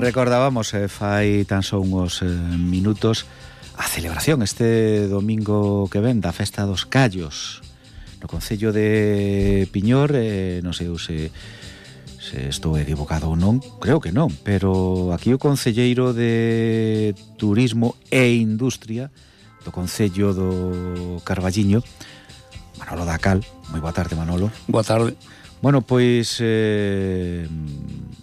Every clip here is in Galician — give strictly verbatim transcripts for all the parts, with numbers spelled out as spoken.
recordábamos eh, fai tan só uns eh, minutos a celebración este domingo que ven da Festa dos Callos no concello de Piñor. eh, non sei se, se estou equivocado ou non, creo que non, pero aquí o concelleiro de Turismo e Industria do concello do Carballiño, Manolo Dacal. Moi boa tarde, Manolo. Boa tarde. Bueno, pois eh,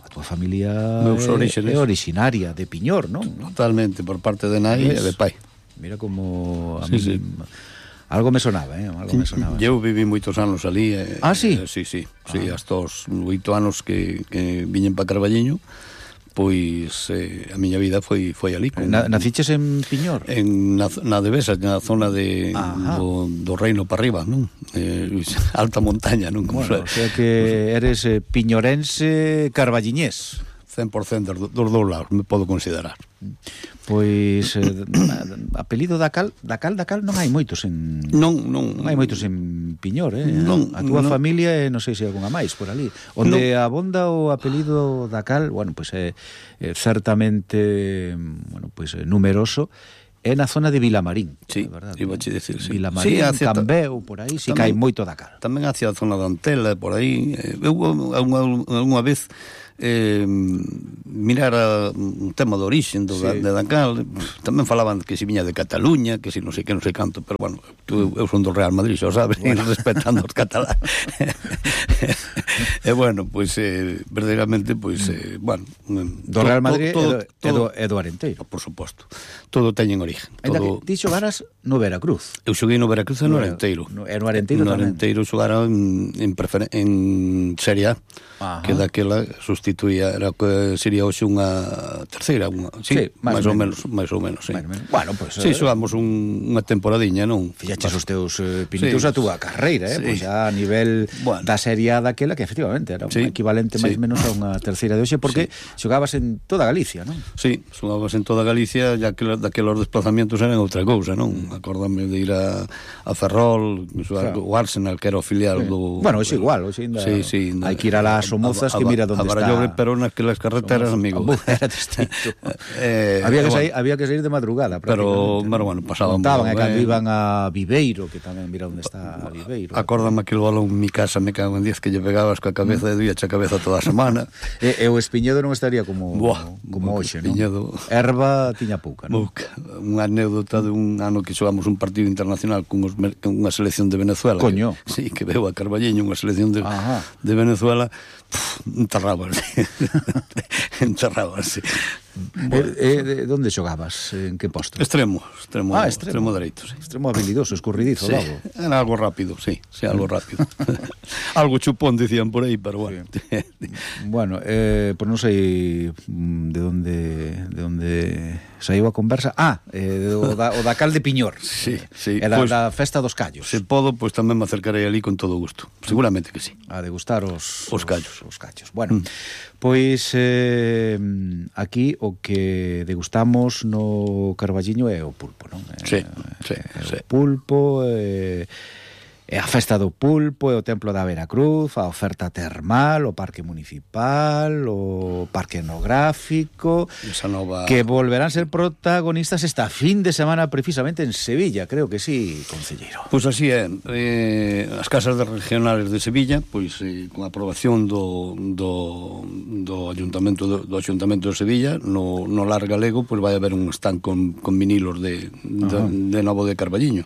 a túa familia é, é originaria de Piñor, non? Totalmente, por parte de nai e de pai. Mira como a sí, mí, sí. algo me sonaba, eh? Algo me sonaba. Eu viví moitos anos ali. Eh, ah, sí? Eh, sí, sí, ah. sí, hasta os oito anos que, que viñen para Carballiño. Pois eh, a miña vida foi foi ali con, na, Naciches en Piñor? En, na, na Devesa, na zona de, do, do Reino para arriba, non? Eh, alta montaña, non? Como bueno, o sea que eres eh, piñorense carballiñés. cen por cento dos, dos dous lados, me podo considerar. Pois eh, apelido Dacal, Dacal, Dacal non hai moitos en Non, non, non hai moitos en Piñor, eh. Non, a túa non. familia, eh, non sei se hai algunha máis por ali. Onde non. Abonda o apelido Dacal, bueno, pois é eh, certamente, bueno, pois eh, numeroso. É na zona de Vilamarín, sí, é verdade. Iba a decir, sí. Vilamarín, sí, Cambeu, por aí, si tamén, cae moito Dacal. Tamén hacia a zona de Antela, por aí. Eu unha vez eh, mirara un tema de orixen do, sí. de Dacal, tamén falaban que se viña de Cataluña, que se non sei que, non sei canto, pero bueno, eu, eu son do Real Madrid, xa sabes, bueno. respetando os catalán. E bueno, pois pues, eh, verdadeiramente, pois, pues, eh, bueno, do Real Madrid todo, todo, e, do, e do Arenteiro. Por suposto. Todo teñen origen. Todo... Ti xogaras no Veracruz. Eu xoguei no Veracruz e no, no Arenteiro. No, e no Arenteiro no tamén. No Arenteiro xogara en, en, prefer... en Serie A. Ajá. Que daquela sustituía, era que sería hoxe unha terceira, unha, sí, sí máis, máis ou menos, máis ou menos, sí. Menos. Bueno, pues, sí, eh, xogamos un, unha temporadiña, non? Fillaches os teus eh, pinitos sí. a túa carreira, eh, sí. Pois xa a nivel bueno. da Serie A daquela, que efectivamente era un sí. equivalente máis ou sí. menos a unha terceira de hoxe, porque sí. xogabas en toda Galicia, non? Sí, xogabas en toda Galicia, ya que daquelos desplazamentos eran outra cousa, non? Mm. Acórdame de ir a, a Ferrol, claro. o Arsenal, que era o filial sí. do... Bueno, hoxe igual, hoxe ainda sí, sí, hai que ir a las Somozas, que mira onde está. A Barallobre, pero naquelas carreteras, amigo. Era distinto. eh, había, que sair, bueno. había que sair de madrugada, pero, pero bueno, pasábamos. Contaban, eh, cando iban a Viveiro, que tamén mira onde está Viveiro. Acórdame aquel balón en mi casa, me cago en diez, que lle pegabas coa cabeza e doíache a cabeza toda a semana. e, e o Espiñedo non estaría como, Buah, como hoxe, non? Erva tiña pouca, non? Pouca. Unha anécdota de un ano que xogamos un partido internacional con, os, con unha selección de Venezuela. Coño. Que, sí, que veo a Carballiño, unha selección de, de Venezuela. Enterrábanse enterrábanse bueno, e, e, onde xogabas? En que posto? Extremo, extremo, ah, extremo. extremo dereito, sí. Extremo habilidoso, escurridizo, sí. logo. Era algo rápido, sí, sí, algo rápido. Algo chupón, decían por aí, pero bueno. Sí. Bueno, eh, pues non sei de onde de onde saiu a conversa. Ah, eh, o, da, o Dacal de Piñor. Sí, sí. Era pues, da Festa dos Callos. Se podo, pois pues, tamén me acercarei ali con todo gusto. Seguramente que sí. A degustar os os callos. Os, os callos. Bueno, mm. pois eh, aquí o que degustamos no Carballiño é o pulpo, non? Sí, eh, sí, é sí. O pulpo, eh, é a festa do pulpo, é o templo da Veracruz, a oferta termal, o parque municipal, o parque etnográfico, esa nova... que volverán ser protagonistas esta fin de semana precisamente en Sevilla, creo que sí, concelleiro. Pois pues así é, eh, as casas de regionales de Sevilla, pois eh, con a aprobación do, do, do Ayuntamento do, do Ayuntamento de Sevilla, no, no Lar Galego, pois pues vai haber un stand con, con vinilos de, de, de novo de Carballiño.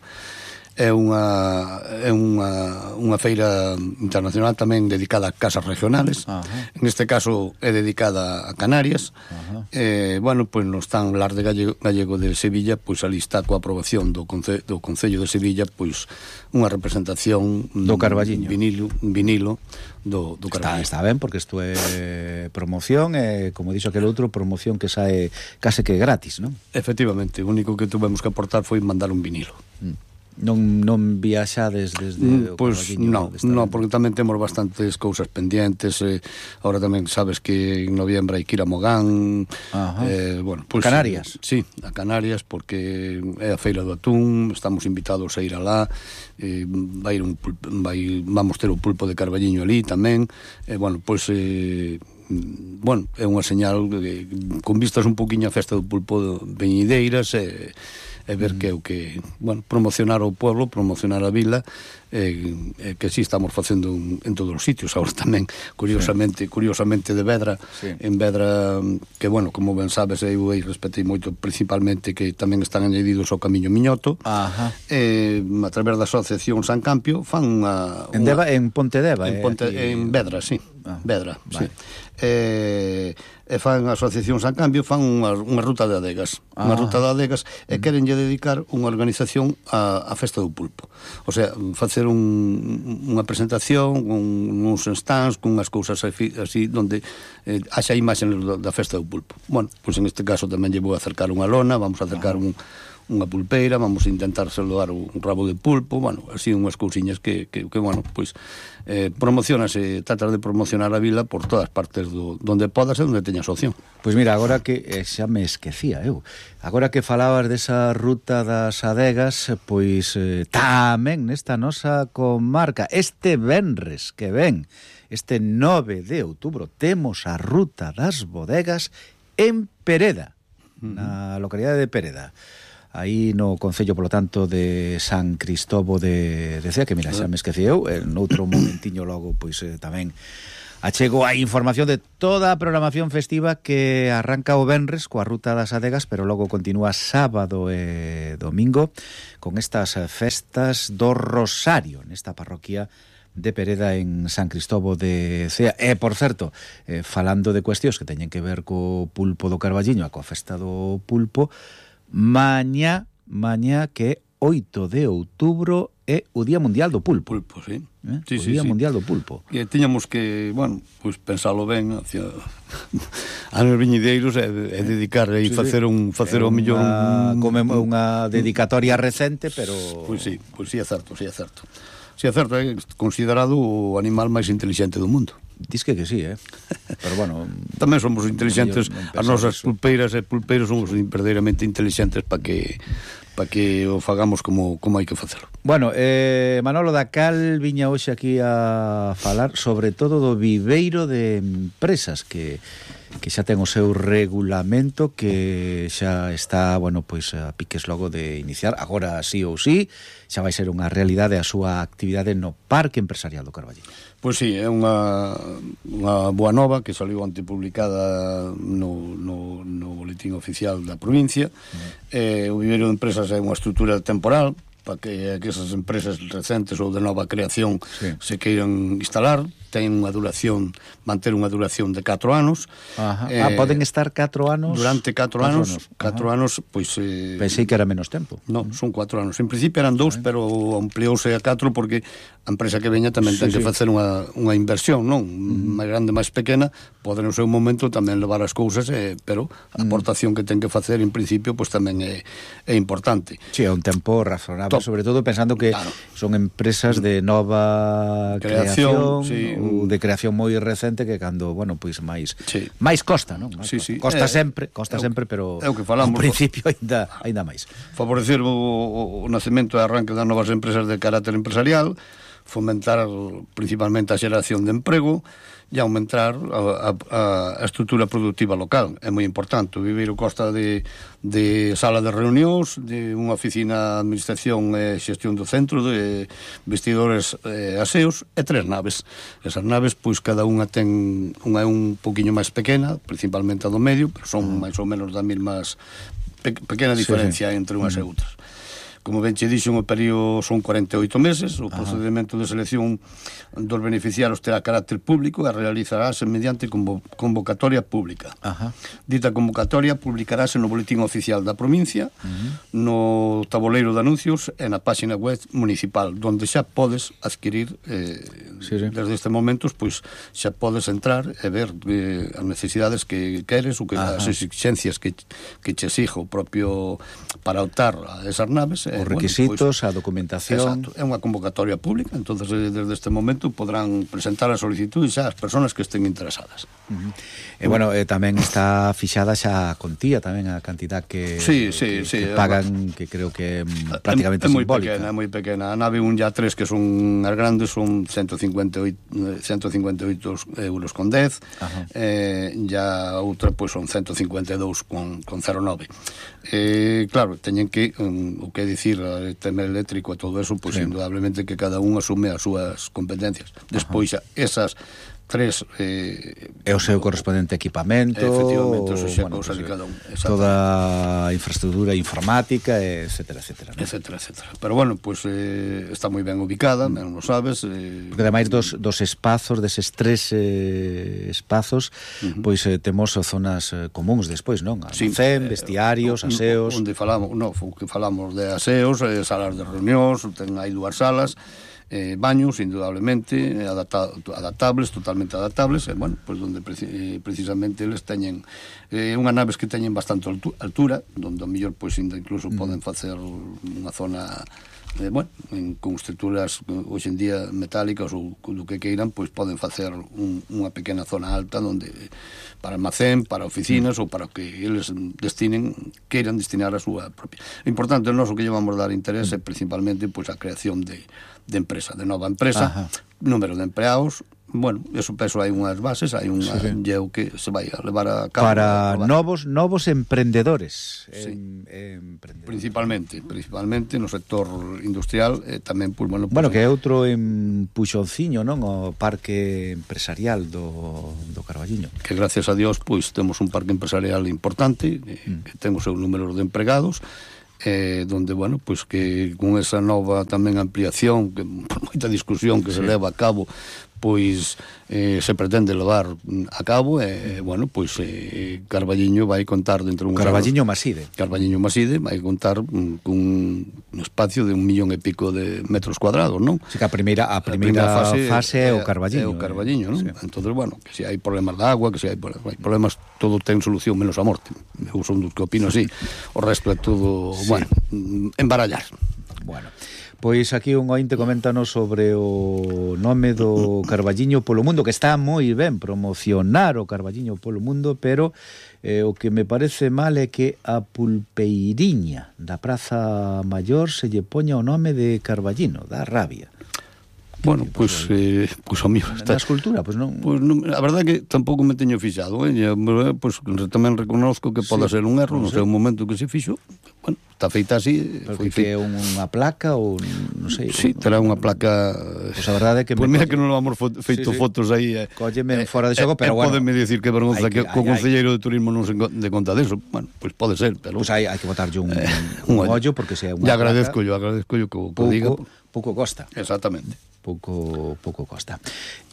É unha é unha unha feira internacional tamén dedicada a casas regionales. Ajá. En este caso é dedicada a Canarias. Ajá. Eh, bueno, pois pues, no stand Lar de Gallego, Gallego de Sevilla, pois pues, ali está coa aprobación do, conce, do Concello de Sevilla, pois pues, unha representación do Carballiño, vinilo, vinilo do, do Carballiño. Está, está ben, porque isto é promoción, e como dixo aquel outro, promoción que sae case que gratis, non? Efectivamente, o único que tuvemos que aportar foi mandar un vinilo. Mm. Non, non viaxades desde o Pois pues, non, non, porque tamén temos bastantes cousas pendientes. eh, Ahora tamén sabes que en noviembre hai que ir a Mogán. eh, bueno, pues, Canarias. Sí, a Canarias, porque é a feira do atún. Estamos invitados a ir alá. eh, vai ir un pulpo, vai, Vamos ter o pulpo de Carballiño ali tamén. eh, Bueno, pois pues, eh, bueno, é unha señal de, con vistas un poquinho a festa do pulpo veñideiras e, e ver que é o que, bueno, promocionar o pueblo, promocionar a vila, e, e que si estamos facendo en, en todos os sitios. Agora tamén, curiosamente, sí. curiosamente de Vedra, sí. en Vedra, que, bueno, como ben sabes, eu aí respetei moito, principalmente que tamén están añadidos ao Camiño Miñoto. Ajá. E, a través da Asociación San Campio, fan unha... En, Deva, en Pontedeva? En, Ponte, eh, en Vedra, sí. Ah, Vedra, vale. sí. E, e fan a Asociación San Cambio, fan unha, unha ruta de adegas. Ah. Unha ruta de adegas e mm. querenlle dedicar unha organización a, a festa do pulpo. O sea, facer un, unha presentación, un, uns stands, con unhas cousas así, así donde eh, haxa imaxes da festa do pulpo. Bueno, pois pues en este caso tamén lle vou acercar unha lona, vamos a acercar ah. un unha pulpeira, vamos a intentar saludar un rabo de pulpo, bueno, así unhas cousiñas que, que, que bueno, pois eh, promocionase, trata de promocionar a vila por todas partes do, donde podas e onde teñas opción. Pois mira, agora que eh, xa me esquecía eu, agora que falabas desa ruta das adegas, pois eh, tamén nesta nosa comarca, este venres que ven, este nove de outubro, temos a ruta das bodegas en Pereda, uh-huh. na localidade de Pereda. Aí no concello, polo tanto, de San Cristobo de, de Cea, que mira, xa me esqueci eu, en outro momentiño logo, pois eh, tamén achego a información de toda a programación festiva que arranca o venres coa ruta das adegas, pero logo continúa sábado e domingo con estas festas do Rosario nesta parroquia de Pereda en San Cristobo de Cea. E, por certo, eh, falando de cuestións que teñen que ver co pulpo do Carballiño a coa festa do pulpo, mañá, mañá que oito de outubro é o Día Mundial do Pulpo. Pulpo, sí. Eh? sí o sí, Día sí. Mundial do Pulpo. E tiñamos que, bueno, pois pues, pensalo ben hacia anos viñideiros e, e dedicar e sí, facer un facer o millón como unha dedicatoria recente, pero pois pues sí, pois pues sí é certo, sí é certo. Si é certo, é considerado o animal máis intelixente do mundo. Diz que que sí, eh? Pero bueno... Tamén somos intelixentes, as nosas pulpeiras e pulpeiros somos verdadeiramente intelixentes para que para que o fagamos como, como hai que facelo. Bueno, eh, Manolo Dacal viña hoxe aquí a falar sobre todo do viveiro de empresas que que xa ten o seu regulamento, que xa está, bueno, pois a piques logo de iniciar, agora sí ou sí, xa vai ser unha realidade a súa actividade no Parque Empresarial do Carballiño. Pois sí, é unha, unha boa nova que saliu ante publicada no, no, no boletín oficial da provincia. Mm. Eh, o viveiro de empresas é unha estrutura temporal para que, que esas empresas recentes ou de nova creación sí. se queiran instalar, ten unha duración, manter unha duración de catro anos. Ajá. Eh, ah, poden estar catro anos? Durante catro anos, catro anos, pois... Eh, pensei que era menos tempo. Non, son catro anos. En principio eran dous, sí. pero ampliouse a catro porque a empresa que veña tamén sí, ten sí. que facer unha, unha inversión, non? Uh-huh. máis grande, máis pequena, pode no seu momento tamén levar as cousas, eh, pero a aportación uh-huh. que ten que facer en principio pois tamén é, é importante. Si, sí, é un tempo razonable, Top. sobre todo pensando que claro. son empresas de nova creación, creación sí. ou de creación moi recente que cando, bueno, pois máis sí. máis costa, non? Máis sí, costa, sí. costa eh, sempre, costa é sempre, pero é o que falamos, ao principio aínda aínda máis. Favorecer o, o, o nacemento e arranque das novas empresas de carácter empresarial, fomentar principalmente a xeración de emprego e aumentar a, a, a estrutura productiva local. É moi importante. O viveiro consta de, de sala de reunións, de unha oficina de administración e xestión do centro, de vestidores e aseos, e tres naves. Esas naves, pois, cada unha ten unha é un poquinho máis pequena, principalmente a do medio, pero son máis ou menos da mesmas pe, pequena diferencia sí, sí. entre unhas uh-huh. e outras. Como ben che dixo, o período son cuarenta e oito meses, o Ajá. procedimento de selección dos beneficiarios terá carácter público e realizarase mediante convo convocatoria pública. Ajá. Dita convocatoria publicarase no boletín oficial da provincia, uh-huh. no tabuleiro de anuncios e na página web municipal, donde xa podes adquirir eh, sí, sí. desde este momento, pois xa podes entrar e ver eh, as necesidades que queres ou que Ajá. as exigencias que, que che exijo propio para optar a esas naves os requisitos, bueno, pues, a documentación. Exacto, é unha convocatoria pública, entonces desde este momento podrán presentar a solicitud xa as persoas que estén interesadas. Uh-huh. E bueno, eh, tamén está fixada xa a contía, tamén a cantidad que, sí, sí, que, sí, que pagan, que creo que é prácticamente é moi simbólica. Pequena, é moi pequena. A nave un e a tres, que son as grandes, son ciento cincuenta e oito euros con dez, eh, e a outra pois son ciento cincuenta e dous con cero nove. Eh, claro, teñen que, um, o que dicir, o tema eléctrico e todo eso, pois sí, indudablemente que cada un asume as súas competencias. Despois, ajá, esas tres eh, é o seu correspondente equipamento, efectivamente, eso xa bueno, cousa pues, de cada un, toda a infraestructura informática, etcétera, etcétera, ¿no? etcétera, etcétera. Pero bueno, pues eh, está moi ben ubicada, ben lo sabes. Eh, Porque ademais dos, dos espazos, deses tres eh, espazos, uh-huh, pois eh, temos zonas eh, comuns despois, non? Almacén, sí, vestiarios, eh, aseos. Onde falamos, no, que falamos de aseos, eh, salas de reunións, ten aí dúas salas. Eh, baños, indudablemente, adapta, adaptables, totalmente adaptables, e, bueno, pues donde preci, eh, precisamente eles teñen eh, unhas naves que teñen bastante altura, donde ao mellor, pues, incluso mm. poden facer unha zona, eh, bueno, en, con estruturas hoxe en día metálicas ou do que queiran, pois poden facer un, unha pequena zona alta donde para almacén, para oficinas mm. ou para que eles destinen, queiran destinar a súa propia. O importante, o noso que llevamos a dar interés é principalmente, pois, a creación de de empresa, de nova empresa, ajá, número de empleados, bueno, eso peso hai unhas bases, hai unha sí, sí, que se vai a levar a cabo para a novos novos emprendedores, sí, en, emprendedores. Principalmente, principalmente no sector industrial, eh, tamén pues, bueno, pues, bueno, que é outro empuxonciño, non, o parque empresarial do do Carballiño. Que gracias a Dios, pois pues, temos un parque empresarial importante, eh, mm. que ten o seu número de empregados. Eh, donde, bueno, pues que con esa nova tamén ampliación, que por moita discusión que sí, se leva a cabo, pois eh, se pretende levar a cabo, e, eh, bueno, pois eh, Carballiño vai contar dentro de un... Carballiño Maside. Carballiño Maside vai contar um, cun un espacio de un millón e pico de metros cuadrados, non? Sí, que a primeira, a primeira, a primeira fase, fase é o Carballiño. É o Carballiño, non? Sí. Entonces, bueno, que se hai problemas de agua, que se hai, hai mm. problemas, todo ten solución menos a morte. Eu son dos que opino así. O resto é todo, sí, bueno, embarallar. Bueno, pois aquí un ointe coméntanos sobre o nome do Carballiño polo mundo, que está moi ben promocionar o Carballiño polo mundo, pero eh, o que me parece mal é que a pulpeiriña da Praza Maior se lle poña o nome de Carballiño, da rabia. Bueno, pois pues, eh, pues, amigo, está... Na escultura, pois pues non... Pues, non, a verdade que tampouco me teño fixado, eh? Pois pues, tamén reconozco que pode sí, ser un erro, non sei, un momento que se fixo, bueno, está feita así. Pero foi que é unha placa ou non sei. Sí, terá unha placa. Pois pues a verdade é que Pois pues mira que non vamos feito sí, sí, fotos aí. Eh, Cólleme fora de xogo, eh, pero eh, bueno. Pódeme dicir que vergonza que, que co concelleiro de turismo non se de conta deso. Bueno, pois pues pode ser, pero pois pues hai, hai que botarlle un, eh, un, un ollo porque se é unha. Ya agradezco yo, agradezco yo que o diga. Pouco costa. Exactamente. Pouco pouco costa.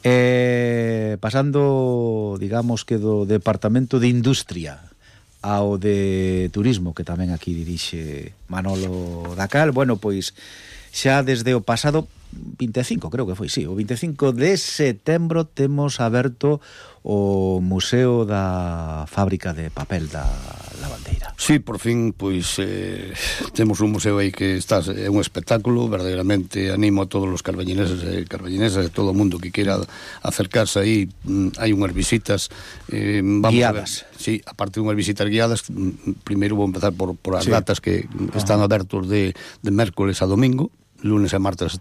Eh, pasando, digamos que do Departamento de Industria ao de Turismo, que tamén aquí dirixe Manolo Dacal, bueno, pois xa desde o pasado vinte e cinco, creo que foi, sí, o vinte e cinco de setembro temos aberto o Museo da Fábrica de Papel da Lavandeira. Sí, por fin, pois eh, temos un museo aí que está, é un espectáculo, verdadeiramente animo a todos os carballineses e carballinesas, e todo o mundo que queira acercarse aí, hai unhas visitas eh, vamos guiadas. A ver, sí, aparte de unhas visitas guiadas, primeiro vou empezar por, por as sí, datas que están abertos de, de mércoles a domingo. Lunes e martes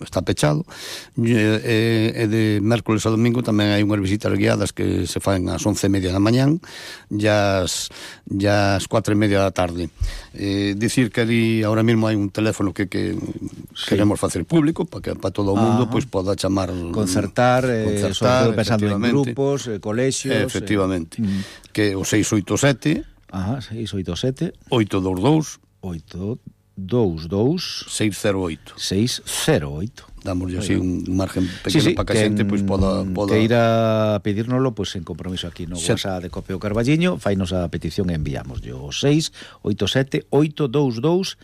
está pechado, e, e de mércoles a domingo tamén hai unhas visitas guiadas que se fan ás once e media da mañán e ás, ás cuatro e media da tarde. Eh, dicir que ali ahora mesmo hai un teléfono que, que sí, queremos facer público para que para todo o mundo pois pois poda chamar, concertar, eh, sobre todo pensando en grupos, eh, colexios, efectivamente, eh, que o seis oito sete Ajá, seis oito sete oito dos dous oito dous dous seis cero oito seis cero oito. Dámoslle así un margen pequeno sí, sí, para que a xente pois, poda, poda... que ir a pedírnoslo pois, en compromiso aquí no sí, WhatsApp de Copeo Carballiño, fainos a petición e enviamos o seis oito sete oito dous dous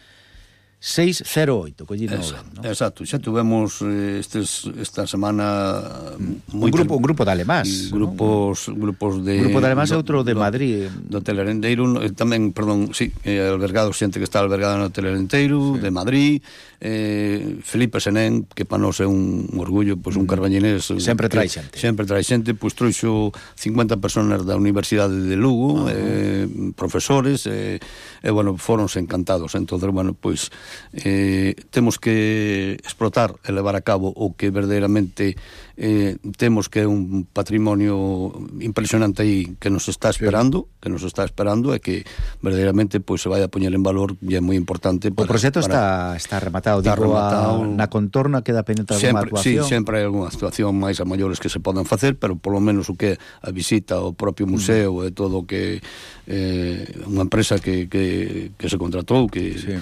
seis cero oito, collino Exacto, ben, ¿no? Exacto, xa tuvemos eh, estes, esta semana mm. un grupo, un grupo de alemás, grupos, ¿no? grupos de grupo de alemás e do, outro de do, Madrid do Telerenteiro, tamén, perdón, sí, eh, albergado, xente que está albergada no Telerenteiro, sí. de Madrid, eh, Felipe Senén, que para nós é un, un orgullo, pois pues, un carbañinés sempre trae xente sempre trae xente, pois pues, trouxo cincuenta personas da Universidade de Lugo, uh -huh. eh, profesores, e eh, eh, bueno, foronse encantados. Entonces, bueno, pois pues, eh, temos que explotar e levar a cabo o que verdadeiramente eh, temos, que é un patrimonio impresionante aí que nos está esperando, sí. que nos está esperando e que verdadeiramente pois pues, se vai a poñer en valor, e é moi importante para, o proxecto para... está, está rematado, está digo, rematado. A, na contorna queda pendiente alguna sempre, actuación. Sí, sempre hai algunha actuación máis a maiores que se poden facer, pero polo menos o que a visita ao propio museo mm. e todo o que eh, unha empresa que, que, que se contratou, que sí.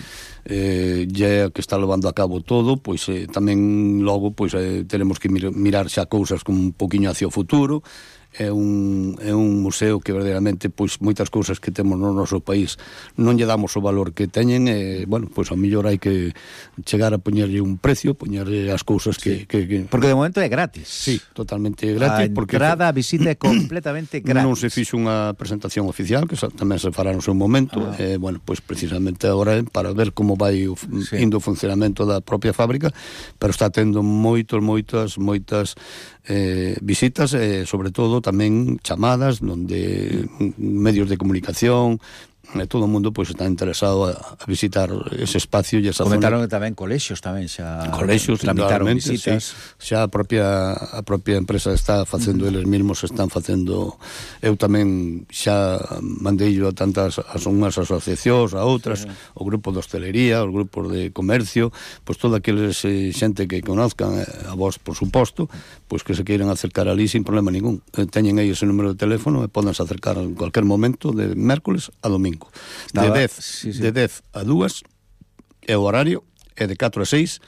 eh, é que está levando a cabo todo, pois eh, tamén logo pois eh, teremos que mir, mirar xa cousas con un poquinho hacia o futuro. É un, é un museo que verdadeiramente pois moitas cousas que temos no noso país non lle damos o valor que teñen, e, bueno, pois a mellor hai que chegar a poñerlle un precio, poñerlle as cousas que, sí. que, que... Porque de momento é gratis. Sí, totalmente gratis. A porque entrada, a visita é completamente gratis. Non se fixo unha presentación oficial, que tamén se fará no seu momento, ah. e, bueno, pois precisamente agora para ver como vai o, sí. indo o funcionamento da propia fábrica, pero está tendo moitos, moitas, moitas eh, visitas, e sobre todo tamén chamadas onde medios de comunicación e todo o mundo pois está interesado a, a visitar ese espacio e esa comentaron zona. Tamén colexios tamén xa colexios tramitaron visitas, sí. Xa a propia a propia empresa está facendo, uh -huh. eles mesmos están facendo. Eu tamén xa mandei a tantas as unhas asociacións, a outras, sí. o grupo de hostelería, os grupos de comercio, pois toda aqueles eh, xente que conozcan, a vos por suposto, pois que se queiran acercar ali sin problema ningún. Teñen aí ese número de teléfono e podense acercar en cualquier momento, de mércoles a domingo. De dez, sí, sí. de dez a dúas é o horario, é de catro a seis,